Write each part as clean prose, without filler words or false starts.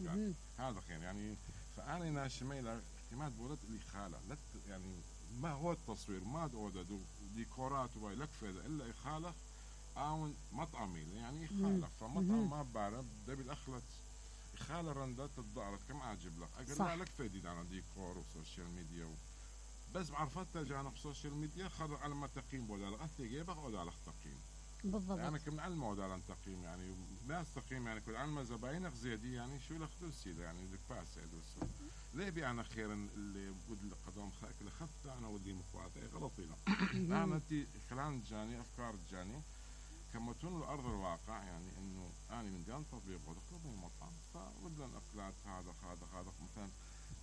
يعني هذا خير يعني. فأنا ناشمي له اعتماد بولد اللي خاله يعني ما هو التصوير ما دودو ديكورات وباي لك فيدا الا خاله او مطعمي يعني خاله فمطعم ما بعرف دبي الاخلت خاله رندات الضارت كم عاجب لك اقول لا لك فيدي انا ديكور وسوشيال ميديا بس بعرفت ترجع في السوشيال ميديا خذ على ما تقييم بودا انت جيبك او على تقييم بالضبط يعني كم علم على تقييم يعني ناس تقييم يعني كل علم زباينك زيادي يعني شو لك دوسي يعني دك باس دوس ليه بي انا خير اللي بود القدام خاك اللي خفت انا ودي مخواتي غلطينا انا تي خلال جاني افكار جاني كمتون الارض الواقع يعني انه انا من جان تطبيق ودخل مطعم فبدنا اكلات هذا مثلا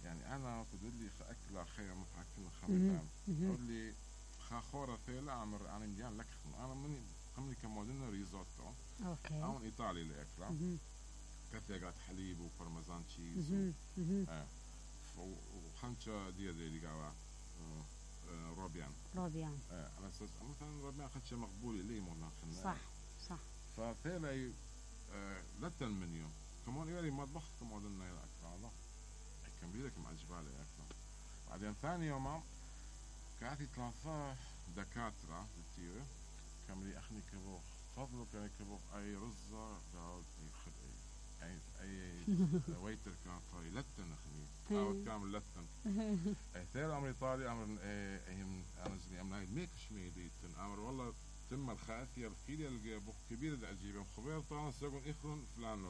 يعني انا بدي لي اكله خير متحكم خمسة اقول لي خاخوره ثيلا عمر انا مديان لك انا من خمني كمودنا ريزوتو اوكي او ايطالي لاكله كثيرات حليب وبارميزان تشيز وخنشة دي قاوا روبيان على اساس مثلا روبيان خنشة مقبولة لي مونا خلنا صح فثيلا لتا المنيو كمان يوري مطبخ كمودنا يا اكله هذا كان بيدك مع جبالي اكله بعدين ثاني يوم كانت ثلاثة دكاترة بالتيرة كاملي أخني كبوخ فضلك يعني كبوخ أي رزة داود أي ويتر كان طاري لتن أخني أو كامل لتن ثير أمر إيطالي أمر أنا زني أمر ميكش ميديتن أمر والله تم الخاثية الخيلية الجبوخ كبير العجيبة خبير طبعا سيقول إخرن فلان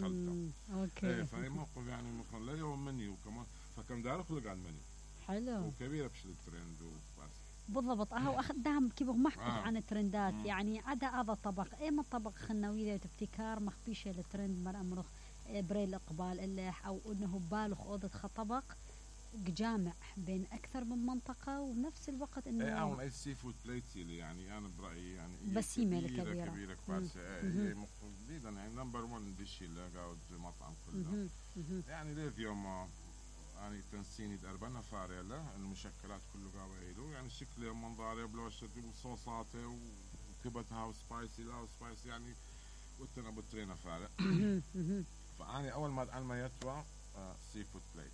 خلطة أوكي فأي موقف يعني ممكن لا يوم مني وكمان فكم دار خلق عن مني حلو وكبيرة بشل الترند وبس بالضبط واخدهم كيف محكو عن الترندات يعني عدا هذا الطبق من طبق خنوية ابتكار مخبيشه الترند مر امرخ بريل اقبال اللح او انه بالخ اوضه خطبق جامع بين اكثر من منطقه ونفس الوقت انه اي سي فود بليتي يعني انا برايي يعني بسيمه كبيره بس هي جديدا يعني نمبر 1 ديش اللي قاعد المطعم كله يعني ليه يوم يعني تنسيني دربنا فاريلا المشكلات كله قاويلو يعني شكله منظره بلوشته وصوصاته وكبتها وسبايسي لا وسبايسي يعني وتنا بترينا فارق فاني اول ما يتوى سي فود بليت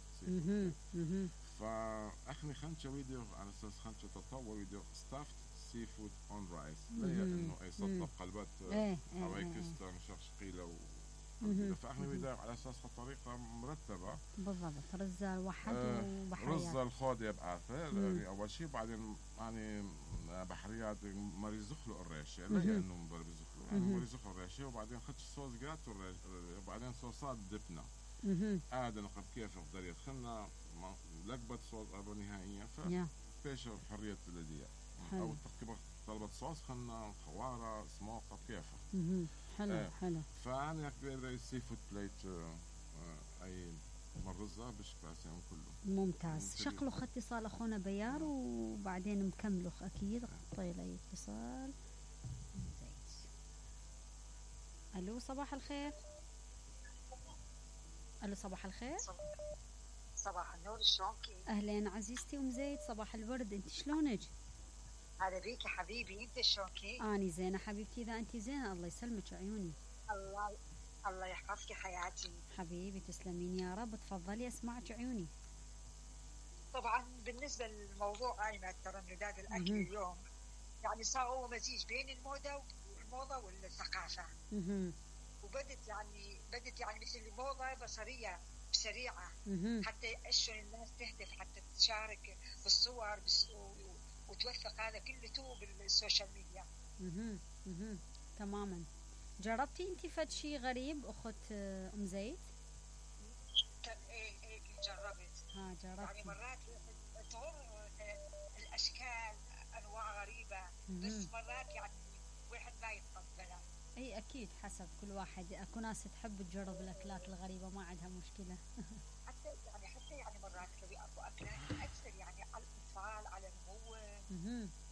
فاخني خنشه فيديو على اساس خنشه تطور فيديو ستافت سي فود اون رايس هي انه اي صدق قلبت هوايكستا مشخ قيله فاحنا فيديو على اساس طريقه مرتبه بالضبط رزه واحد وبحريات رزه الخودي بعرفه اول شيء بعدين يعني بحريات مريض زخلو الريشه لا انه مضرب زخلو يعني مريض زخلو الريشه وبعدين خدش صوص جات وبعدين صوصات دبنا هذا نقب كيف نقدر يدخلنا لقبت صوص نهائيا فبيش حريه الذيه او تقريبا طلبت صوص خلنا خواره سموقه كيفه حلو فانا كبير السي فود بليت اي مرزة بشكل يعني كله ممتاز شكله اتصال اخونا بيار وبعدين مكمله اكيد طيب اي اتصال الو صباح الخير الو صباح الخير صباح النور شلونكي اهلين عزيزتي ام زيد صباح الورد انت شلونك هلا بيكي حبيبي انت شلونكي اني زينه حبيبتي اذا انت زينه الله يسلمك عيوني الله يحفظك حياتي حبيبي تسلمين يا رب تفضلي اسمعك عيوني طبعا بالنسبه للموضوع ايمن ترندات الاكل اليوم يعني صار هو مزيج بين الموضه والثقافه وبدت يعني مثل الموضه بصريه سريعه حتى اشون الناس تهدف حتى تشارك بالصور وتوثق هذا كله بالسوشيال ميديا تماما جربتي انت فد شيء غريب اخت ام زيد؟ ايه جربت جربت يعني مرات تغر الاشكال انواع غريبه بس مرات يعني واحد ما يتقبلها اي اكيد حسب كل واحد اكو ناس تحب تجرب الاكلات الغريبه ما عندها مشكله حتى يعني مرات تبي اكو اكلات اكثر يعني على الاطفال على النمو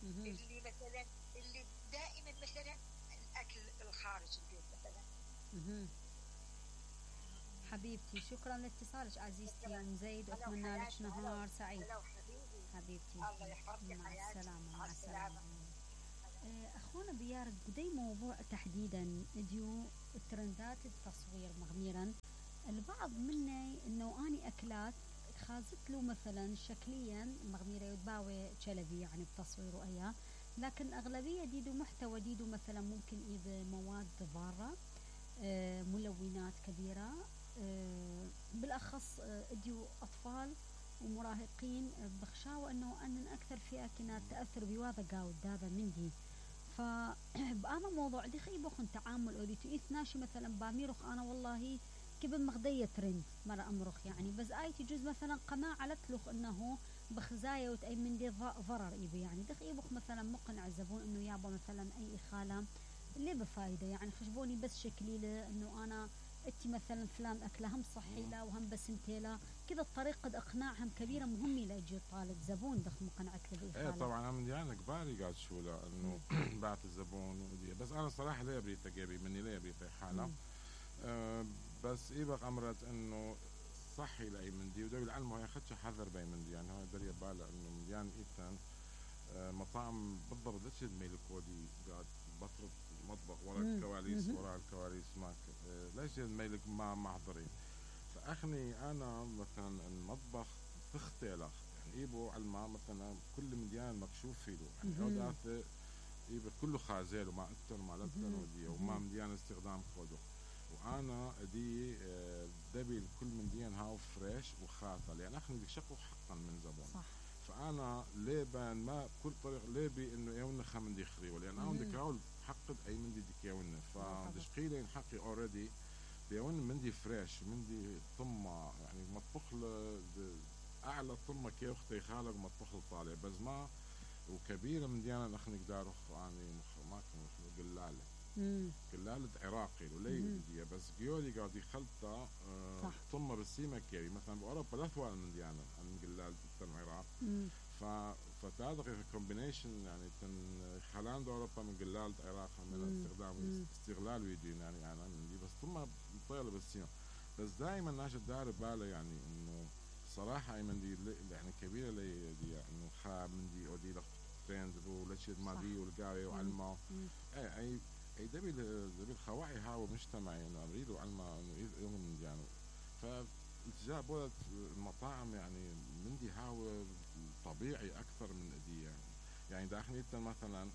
اللي مثلا اللي دائما مثلا الاكل الخارج البيت مثلا حبيبتي شكرا لاتصالك عزيزتي يا ام زيد واتمنى لك نهار سعيد حبيبتي الله يحفظك مع السلامه اخونا بيار بدي موضوع تحديدا ديو الترندات التصوير مغميرا البعض محلات خازت له مثلا شكليا مغميرة يتباوي شلبي يعني بتصويره اياه، لكن اغلبية ديدو محتوى ديدو مثلا ممكن اذا مواد ضارة، ملونات كبيرة، بالاخص اديو اطفال ومراهقين بخشاوة انه ان اكثر فئة كنا تاثر بهذا قاود هذا مندي. فبأنا موضوع دي خيبوخ تعامل اوديتو اثناشي مثلا باميرخ انا والله كبن مغدية ترند مرة امرخ يعني، بس اي تجوز مثلا قناة على تلوخ انه بخزايا وتأي من دي ضرر ايبي يعني دخيبوخ مثلا مقنع الزبون انه يابا مثلا اي اخالة اللي بفايدة يعني خشبوني بس شكلي له انه انا انتي مثلا فلان اكله هم صحي له وهم بسمتي له كذا طريقة اقناعهم كبيرة مهمة ليجي طالب زبون دخ مقنعك له ايه بإخالة. طبعا انا يعني كباري قاعد شو لا انه بعت الزبون ودي. بس انا صراحه ليه بريت جابي مني ليه بريت حاله. بس ايبق امرت انه صحي لاي مندي وده بالعلم هي خدش حذر باي مندي يعني هو دري باله انه مليان ايتان مطاعم بالضبط ليش الميل كودي قاعد بطرد المطبخ ورا الكواليس ورا الكواليس ماك ليش الميل ما محضرين. فاخني انا مثلا المطبخ تختلخ يعني ايبو على الماء مثلا كل مليان مكشوف فيه يعني اودات ايبو كله خازيل وما اكثر وما لتر ودي وما مليان استخدام كودو. وانا دي دبي كل مليان هاو فريش وخاطر يعني اخني بدك شقه حقا من زبون. صح. فانا ليبان ما بكل طريق ليبي انه يونا خمن خريوه لان انا بدك هاول حقد اي مندي ديك يونا فدشقيلين حقي اوريدي بيون مندي فريش مندي طمه يعني مطبخ اعلى طمه كي اختي خالق مطبخ الطالع بس ما وكبيره من ديانا نخنق دارخ يعني ما كانوا قلاله قلاله عراقي ولي بس جيولي قاعد يخلطه طمه بالسيمه كيري مثلا باوروبا لا ثوال من ديانا عن قلال العراق فتعرف كومبينيشن يعني خلان اوروبا من قلال العراق من استغلال ويدين يعني انا عندي بس طمه طيله بالسيمه. بس دائما ناس دار باله يعني انه صراحه اي من دي يعني كبيره لي دي انه خا من دي اودي ترند ولشد ما دي والقاوي وعلمه اي دبي الخواعي هاو مجتمعي انه اريد وعلمه انه يوم يعني فالتجاه بولت المطاعم يعني من دي هاو طبيعي اكثر من اديه يعني داخلي مثلا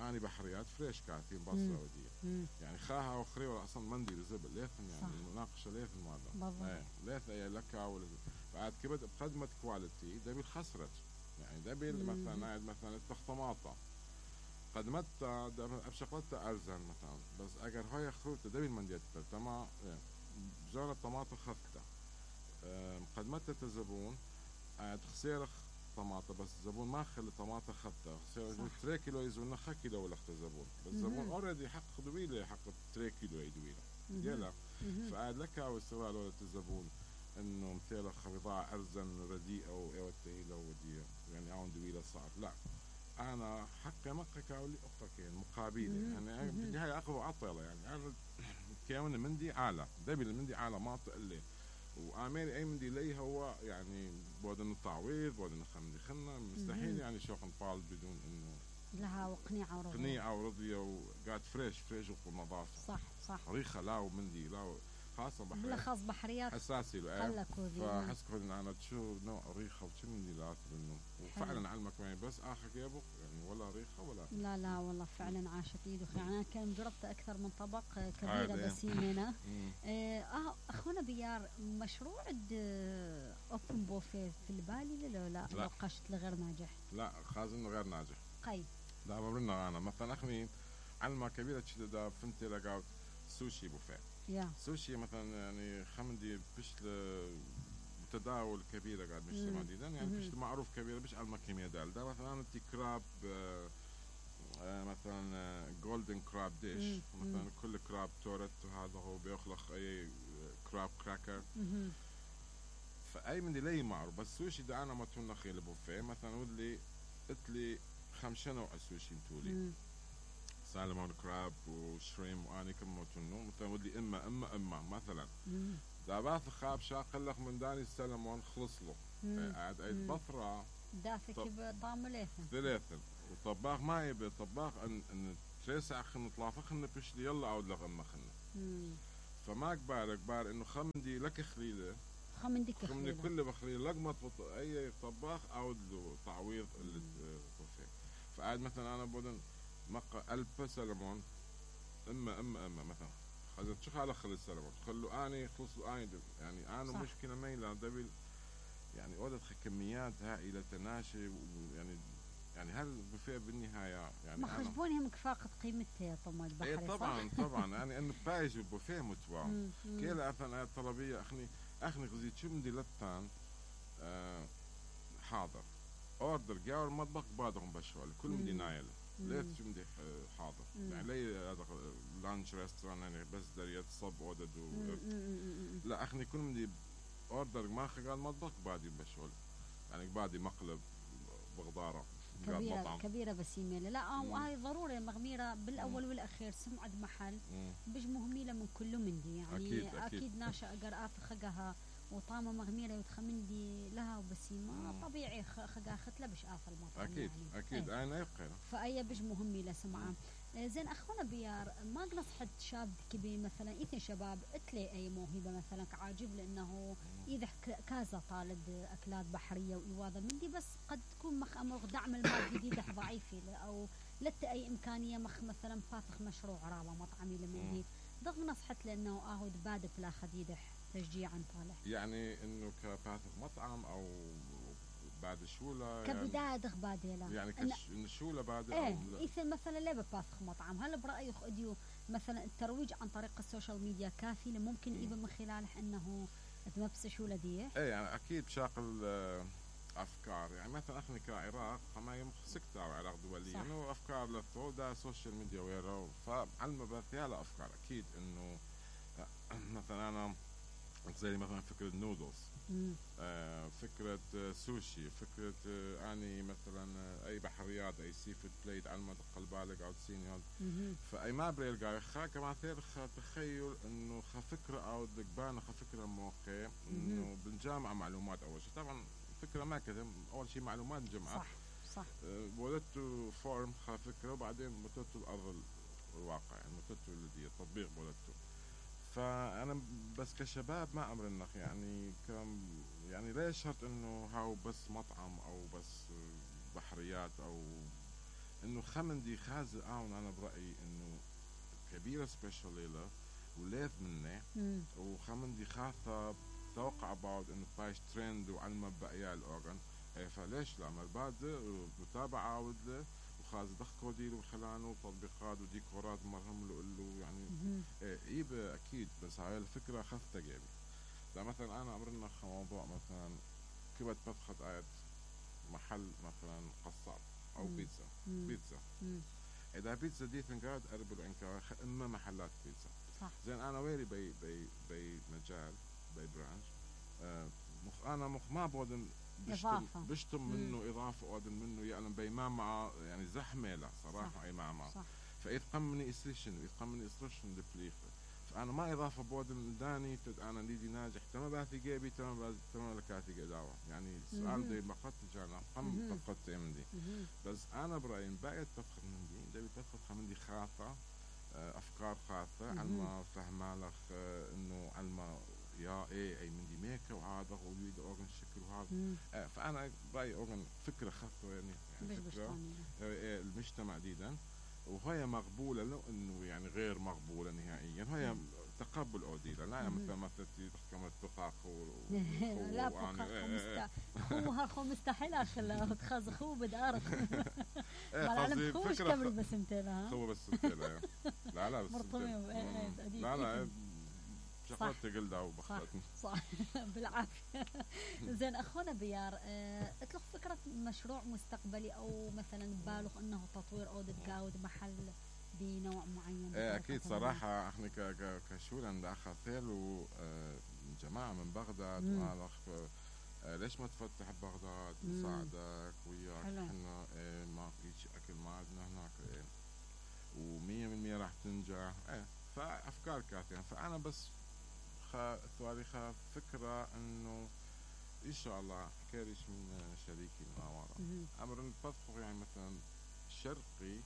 اني بحريات فريش كاتين بصره وديه يعني خاها وخريوه اصلا مندي بزبل ليثن يعني المناقشه ليثن هذا ليث اي لك بعد كبد بقدمه كواليتي دبي خسرت يعني دبي مثلا قاعد مثلا الطماطه قدمتها بشغلتها ارزان مثلا بس اگر هاي خروته دبي المنديات تمام جار الطماطه خفته قدمتها الزبون قاعد خسيرخ طماطه بس الزبون ما خلي طماطه خفته خسير 3 كيلو يزون 1 كيلو ولا الزبون بس الزبون اوريدي حق دويله حق 3 كيلو يدويله يلا فقاعد لك او استغلال ولد الزبون انه مثل بضاعه ارزن رديئه وايوتيله ودي يعني اون دويله صار لا انا حقي مقك اولي اختك مقابله يعني بدي هاي اقوى عطله يعني انا كيون مندي عالة دبي المندي عالة ما تقلي واميري اي مندي لي هو يعني بودن التعويض بودن خمدي خلنا مستحيل يعني شوق نطال بدون انه لها وقنيعه ورضيه قنيعه ورضيه وقاعد فريش ونظافه صح ريخه لا ومندي لا خاصة بحريات بالأخص بحريات حساسي فحسكوا ان انا تشو نوع ريخه وشو من ديلات انه وفعلا علمك معي بس اخر يابو يعني ولا ريخه ولا لا والله فعلا عاشت ايدك يعني انا كان جربت اكثر من طبق كبيره بسيمنه. اخونا بيار مشروع اوبن بوفيه في البالي لا قشت لغير ناجح لا خازن غير ناجح قيد لا بمرنا انا مثلا اخني علمة كبيره تشد فنتي لقاوت سوشي بوفيه سوشي مثلا يعني خمدي بشل تداول كبيرة قاعد مش مديدا يعني بشل معروف كبيرة بش على كيمياء ده مثلا انت كراب مثلا جولدن كراب ديش مثلا كل كراب تورت وهذا هو بيخلق اي كراب كراكر فاي من دي لي معروف بس سوشي ده انا ما تون خيل بوفيه مثلا ودلي قلت 5 نوع سوشي متولي سالمون كراب وشريم واني كم موتنو مثلا ودي اما مثلا دابات خاب شاقلق من داني السلمون خلص له قاعد عيد بطرة دافك بطعم ثلاثة وطباخ ما يبي طباخ ان 3 ساعة خلنا طلافة خلنا بشلي يلا اعود لغ اما خلنا فما كبار انه خمدي لك خليله خمندك خمني خليله. كله بخلي لقمة اي طباخ اعود له تعويض اللي بوفيه. فقاعد مثلا انا بدن مقا ألب سلمون اما مثلا خذت شو على خلي السلمون خلوا اني خلصوا اني يعني انا صح. مشكلة ميلا دبل يعني أوردت كميات هائلة تناشي يعني هل البوفيه بالنهاية يعني ما خشبونهم كفاقة قيمته يا طم البحري. ايه طبعا صح؟ طبعا يعني انه بايج البوفيه متوا كيلا اثناء الطلبية اخني غزيت شو بدي لتان حاضر اوردر جاور المطبخ بعدهم بشوال كل مدي نايل ليت شو بدي حاضر يعني لي هذا لانش ريستوران يعني بس دريت صب اودد لا اخني كل مدي اوردر ما قال المطبخ بعدي بشوال يعني بعدي مقلب بغضاره كبيرة بس يميلة لا هاي ضروري مغميرة بالأول والأخير سمعة محل بج مهميلة من كله مندي يعني أكيد ناشا أقر خقها وطامة مغميرة وتخمندي لها وبسيمة طبيعي خقها ختلة بش المطعم أكيد يعني. أكيد أنا يبقى فأي بج مهميلة سمعة. زين أخونا بيار ما نصحت شاب كبير مثلا إثنين شباب اتلي أي موهبة مثلا كعاجب لأنه إذا كازا طالب أكلات بحرية وإيواذا مندي بس قد تكون مخ أمر دعم المادي دي ضعيف أو لت أي إمكانية مخ مثلا فاتخ مشروع عرابة مطعمي لمندي ضغ نصحت لأنه أهود بادت لا خديدح تشجيعا طالع يعني إنه كباتخ مطعم أو بعد شولة كبداية يعني دخ باديلا يعني شولة بعد ايه إذا مثلا لا بباثخ مطعم هل برأيك أديو مثلا الترويج عن طريق السوشيال ميديا كافي ممكن إذا من خلاله أنه تمبس شولة دي ايه يعني أكيد بشاقل أفكار يعني مثلا احنا كعراق ما يمسكت او عراق دولية انه افكار للثو ده سوشيال ميديا ويرو فعلم بثيالة افكار اكيد انه مثلا انا زي مثلا فكرة نودلز فكرة سوشي فكرة اني مثلا اي بحريات اي سي فود بليت على ما تقل بالك او تسيني فاي ما بريل خا كما ثير تخيل انه فكرة او دقبانة فكرة موقع انه بالجامعة معلومات اول شيء طبعا فكرة ما كذا اول شيء معلومات جمعة صح ولدت فورم فكرة وبعدين متت الارض الواقع يعني متت التطبيق ولدته فأنا بس كشباب ما أمر النخ يعني يعني ليش شرط إنه هاو بس مطعم أو بس بحريات أو إنه خمندي خازي أنا برأيي إنه كبيرة سبيشال ليلة وليث منه وخمندي خاثة توقع بعض إنه بايش ترند وعلمه بقيا الأورغن فليش لا عمل بعد متابعة عاود له وخاز ضخ كوديل وخلانه وتطبيقات وديكورات مرهم له يعني ايه اكيد بس هاي الفكره خفت جيبي لا مثلا انا امرنا موضوع مثلا كبت بفخت آية محل مثلا قصاب او بيتزا اذا بيتزا دي ثنقاد اربل انكار اما محلات بيتزا صح. زين انا ويري بي مجال بي برانش انا ما بودن بشتم منه اضافه اودن منه يعني بيمان مع يعني زحمه لا صراحه اي مع فيتقمني اسريشن يتقمني اسريشن دبليخه فانا ما اضافه بودن داني انا ليدي ناجح تمام باثي جيبي تمام لكاتي قداوه يعني السؤال دي بقت جانا قم فقدت مندي بس انا برايي بايت تفخر مندي دبي تفخر مندي خاطه افكار خاطه علما فهمالك انه علما يا اي مندي ميكا وهذا ويريد اورجن شكل وهذا فانا برايي اورجن فكره خاطه يعني فكره المجتمع ديدا وهي مقبولة لو انه يعني غير مقبولة نهائيا هي تقبل اوديلا لا مثلا مثلا تحكم الدقاق لا هو هاخو مستحيل اخلا خاز خو بدارك قصدي فكرة بس انتلا هو بس انتلا لا بس لا شغلت قلدها وبخلتني صح بالعافية زين أخونا بيار اطلق فكرة مشروع مستقبلي أو مثلا بالغ أنه تطوير أو تقاود محل بنوع معين أكيد صراحة احنا كشول عند أخا ثيل جماعة من بغداد وأنا ليش ما تفتح بغداد نساعدك وياك احنا ما فيش أكل ما عندنا هناك و100% راح تنجح فأفكار كافية فأنا بس ثواريخ فكرة انه ان شاء الله حكيريش من شريكي من ورا امر الطبخ يعني مثلا شرقي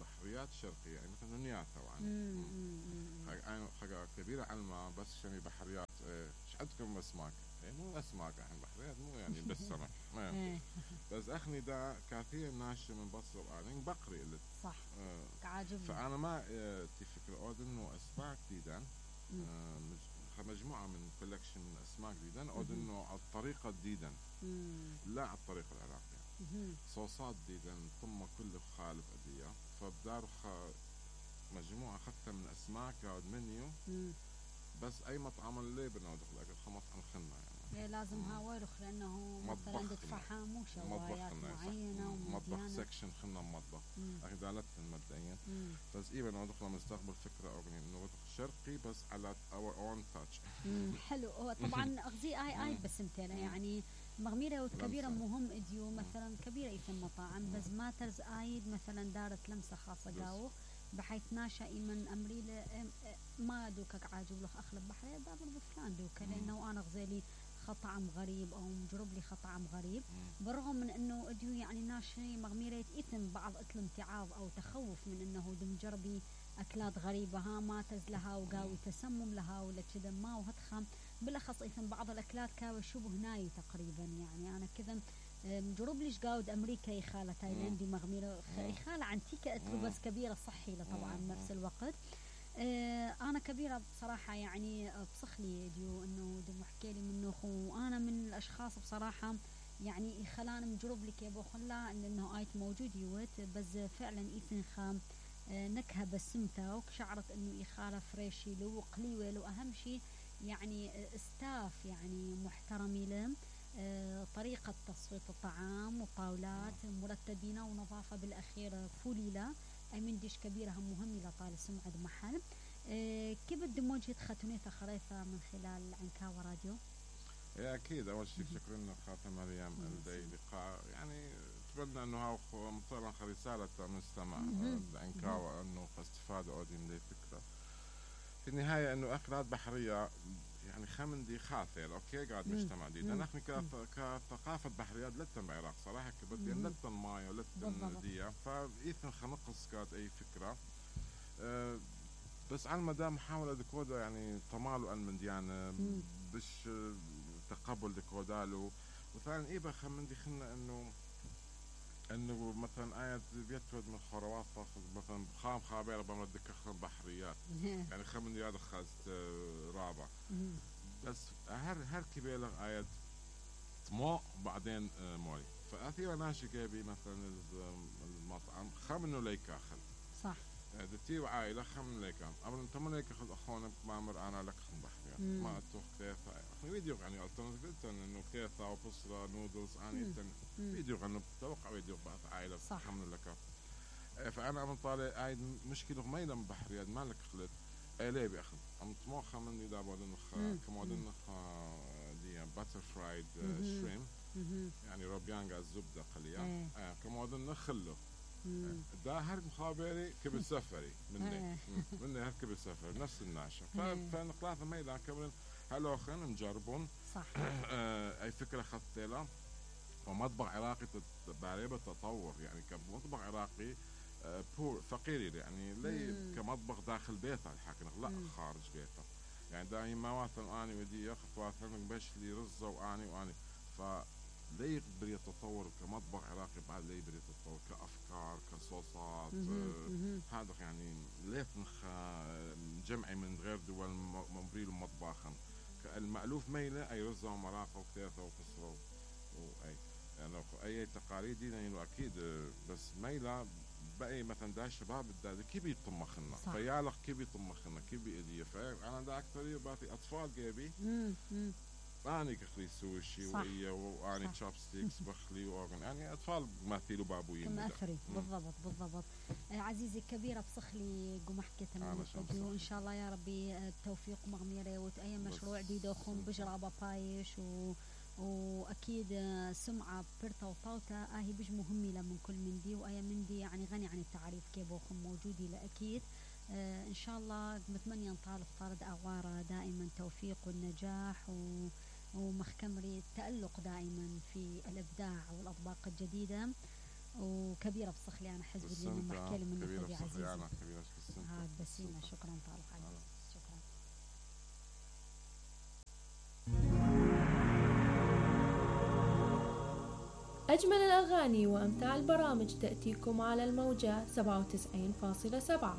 بحريات شرقية يعني مثلا نياتا يعني حاجة كبيرة على الماء بس شنو بحريات ايش عندكم اسماك؟ مو اسماك احنا بحريات مو يعني بس سمك بس اخني دا كثير ناشئ من بصر وانين بقري قلت صح عاجبني. فانا ما تفكر اود انه اسماك ديدان مجموعة من كولكشن من اسماك ديدان اود انه على الطريقة ديدان لا على الطريقة العراقية صوصات ديدان ثم كل خالف ادية فبدار مجموعة اخذتها من اسماك ياود منيو بس اي مطعم اللي بنود الاكل مطعم خنا يعني لازم هاويرخ لانه مثلا تدفع حامو شوايات معينه مطبخ سكشن خنا مطبخ اخي دالتنا مبدئيا بس ايبا ندخل مستقبل فكره او انه شرقي بس على اور اون تاتش حلو. هو طبعا اغزي اي بس متنا يعني مغميره وكبيره مهم اديو مثلا كبيره ايثن مطاعم بس ماترز ايد مثلا دارت لمسه خاصه قاو بحيث ناشا من امريله ما دوكك عاجب لك اخلب بحريه دابر بفلان دوكا لانه انا غزالي خطعم غريب او مجرب لي خطعم غريب بالرغم من انه اديو يعني ناشي مغميره اثم بعض امتعاض او تخوف من انه دم جربي اكلات غريبه ها ما تزلها وقاوي تسمم لها ولا كذا ما وهتخم بالاخص ايثم بعض الاكلات كاوي شبه ناي تقريبا يعني انا كذا مجرب ليش قاود امريكا يخاله تايلاندي مغميره يخاله عنتيكه اتلو بس كبيره صحي له طبعا بنفس الوقت انا كبيره بصراحه يعني بصخلي ديو انه دم حكي لي منه وانا من الاشخاص بصراحه يعني خلاني مجرب لك يا ابو خلا انه ايت موجود يوت بس فعلا ايثن خام نكهه بسمته وشعرت انه يخاله فريشي له وقليوه له اهم شيء يعني استاف يعني محترمي له طريقة تصفية الطعام وطاولات مرتبين ونظافة بالأخير فوليلة أي من ديش كبيرة هم مهمة لطال سمعة محل كيف بدي وجهة ختونية خريطة من خلال عنكاوة راديو؟ أكيد أول شيء شكرا لك خاتم مريم لدي لقاء يعني أتمنى أنه مثلا رسالة مستمع عنكاوة أنه استفادة أودي من فكرة في النهاية أنه أكلات بحرية يعني خمندي خاثر اوكي قاعد مجتمع دي نحن كثقافه بحريات لتن بعراق صراحه كبدي لتن ماي ولتن ديا فايثن خنقص كانت اي فكره بس على المدى محاوله دكودا يعني طمالو من ديانه بش تقبل دكودالو وثانيا ايبا خمندي خلنا انه مثلا آيات بيتود من خروات مثلا خام خابير بمدك بحريات يعني خمندي هذا خاص رابع بس هر كبيرة آيات مو بعدين مولي فأثيرا ناشي كيبي مثلا المطعم خمنو ليك أخذ صح دتي وعائلة خمن ليك قبل أنت من ليك أخذ أخونا مامر أنا لك خم بحريات ما أتوه كيفا فيديو يعني قلت إنه كيفا وبصرة نودلز أنا فيديو إنه بتوقع فيديو بعد عائلة خمن لك فأنا من طالع عايد مشكلة ما يلم بحريات ما لك خلت ليه بياخذ أم طموح من إذا بعدين كمودن دي باتر فرايد شريم يعني روبيانجا الزبدة قليلا كمودن خله ده هرب مخابري كبر سفري مني هر كبر سفري نفس الناشا فنقلاث ما إذا كبر هلو خن نجربون صح أي فكرة خطيلة ومطبخ عراقي بعريبة تطور يعني كمطبخ عراقي بور فقير يعني لي كمطبخ داخل بيته الحاكي لا خارج بيته يعني دائما مثلا اني ودي ياخذ مثلا باش لي رزه واني فلي يقدر يتطور كمطبخ عراقي بعد لي يقدر يتطور كافكار كصوصات هذا يعني ليه جمعي من غير دول مبريل مطبخا المألوف ميله اي رزه ومراقه وكيفه وكسره واي يعني اي تقاليد يعني اكيد بس ميله بقى مثلا ده الشباب ده كيف يطمخنا فيالك كيف يطمخنا كيف بيديه فانا ده اكثر بعطي اطفال جايبي اني كخلي سوشي واني تشوب ستيكس بخلي واغن يعني اطفال مثيلوا بابوين كما اثري بالضبط عزيزي الكبيره بصخلي قوم حكيت وان شاء الله يا ربي التوفيق مغميره وتأي مشروع جديد وخم بجرابه بايش واكيد سمعه برتا وطاوتا هي بج مهمه من كل من دي واي من دي يعني غني عن التعريف كيف وخم موجودي لاكيد ان شاء الله متمنيه نطالب طارد اغواره دائما توفيق والنجاح ومخكمري التألق دائما في الابداع والاطباق الجديده وكبيرة بصخلي أنا حزب اللي من محكي لي من كبيرة أخوي بصخلي، عزيزي. أنا كبيرة بالسنة. هاد بسيمة، شكرا طالق عليك، شكرا. أجمل الأغاني وأمتع البرامج تأتيكم على الموجة 97.7.